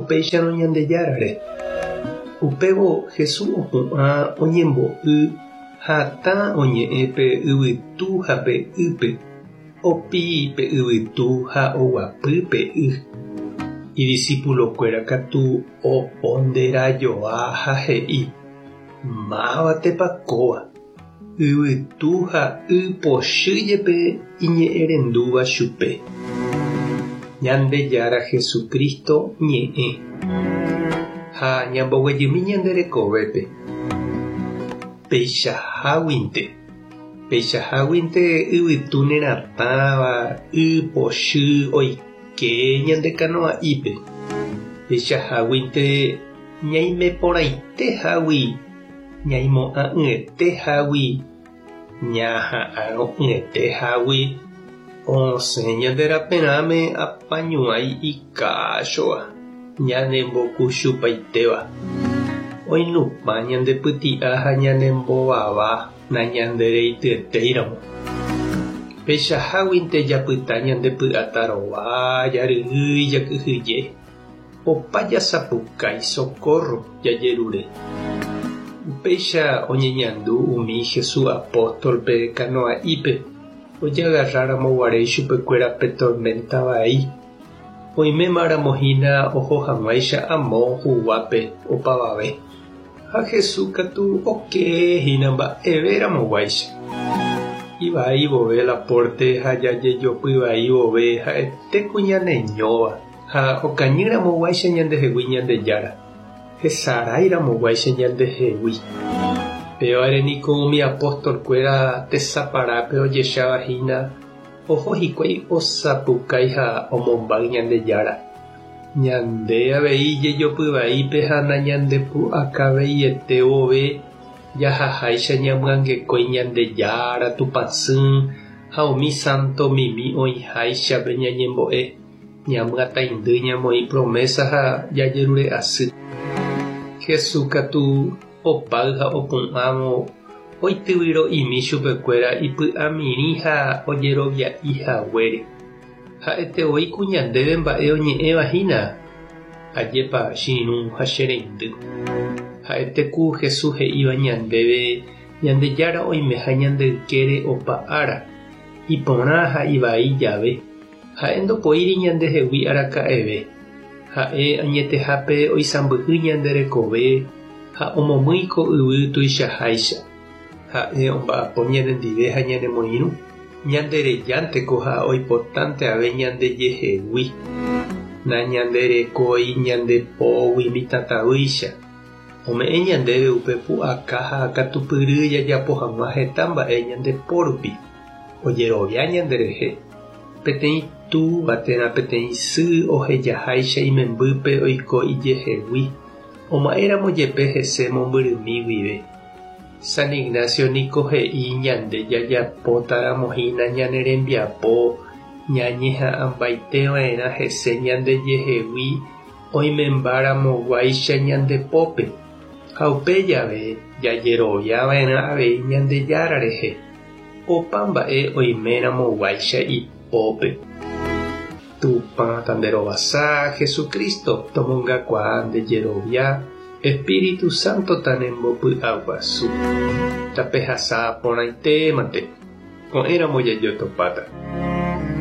upéicharõ Ñandejárare? Upévo Jesús opu'ã oñembo'y hatã oñe'ẽ pe yvytu ha pe ýpe. Opi pe yvytu ha oguapy pe y. Idisipulokuéra katu oponderajoa ha he'i, Mávatepa kóva? Yvytu ha y pochy jepe iñe'ẽrendúva chupe. Ñandejára Jesucristo ñe'ẽ. Ha ñamboguejymi ñande rekovépe. Peichaháguinte. Peichaháguinte yvytu neratãva y pochy oike ñande kanoa'ípe. Peichaháguinte ñaime porãite hágui, ñaimo'ã'ỹete hágui, ñaha'arõ'ỹete hágui, osẽ ñande raperãme apañuãi ikáchova, ñanembokuchupaitéva. Oinupã ñande pyti'a ha ñanembovava nañandereityetéiramo. Peichaháguinte japyta ñande py'atarova, jaryrýi, jakyhyje. Opa jasapukái socorro jajerure. Upéicha oñeñandu umi Jesús apóstolpe kanoa'ípe ojagarráramo guare ichupekuéra pe torménta vai. Oimémaramo hína oho hag̃uáicha amo huguápe opavave. Ha Jesús katu oke hína mba'evéramo guáicha. Ivai vove la pórte ha jajejopy vai vove ha'ete ku ñaneñóva. Ha okañy ramo guáicha ñandehegui Ñandejára, hesarái ramo guáicha ñandehegui. Pévare niko umi apóstol kuéra tesaparápe ojecháva hína oho hikuái osapukái ha omombáy Ñandejára. Ñande avei jejopy vaípe ha nañandepu'akaveiete vove jahaháicha ñamyangekói Ñandejára Tupãsy ha umi sánto mimi oĩháichape ñañembo'e. Ñamyataindy ñamoĩ promésa ha jajerure asy. Jesús katu opáy ha opu'ãvo oityvyro'imi chupekuéra ipy'amirĩ ha ojerovia'i haguére. Ha'ete voi ku ñandéve mba'e oñe'ẽva hína, Ajépa che irũ ha che reindy. Ha'ete ku Jesús he'íva ñandéve Ñandejára oimeha ñande ykére opa ára, iporã ha ivai jave. Ha'e ndopoíri ñandehegui araka'eve. Ha'e añetehápe oisãmbyhy ñande rekove ha omomýi ko yvy tuichaháicha. Ha'e omba'apo ñanendive ha ñanemoirũ, ñanderejánteko ha oipotánte ave ñandejehegui. Nañanderekói ñande pógui mitãtavýicha. Ome'ẽ ñandéve upe pu'aka ha katupyry jajapo hag̃ua heta mba'e ñande po rupi. Ojerovia ñanderehe. Peteĩ túva térã peteĩ sy ohejaháicha imembýpe oiko ijehegui, oma'ẽramo jepe hese mombyrymi guive. San Ignacio niko he'i ñande jajapótaramo hína ñane rembiapo ñañeha'ãmbaiteva'erã hese ñandejehegui oimembáramoguáicha ñande pópe, ha upe jave jajeroviava'erã avei Ñandejára rehe. Opa mba'e oiméramo guáicha ipópe. Tupã tanderovasa, Jesucristo tomongakuaa nde jerovia, Espíritu Santo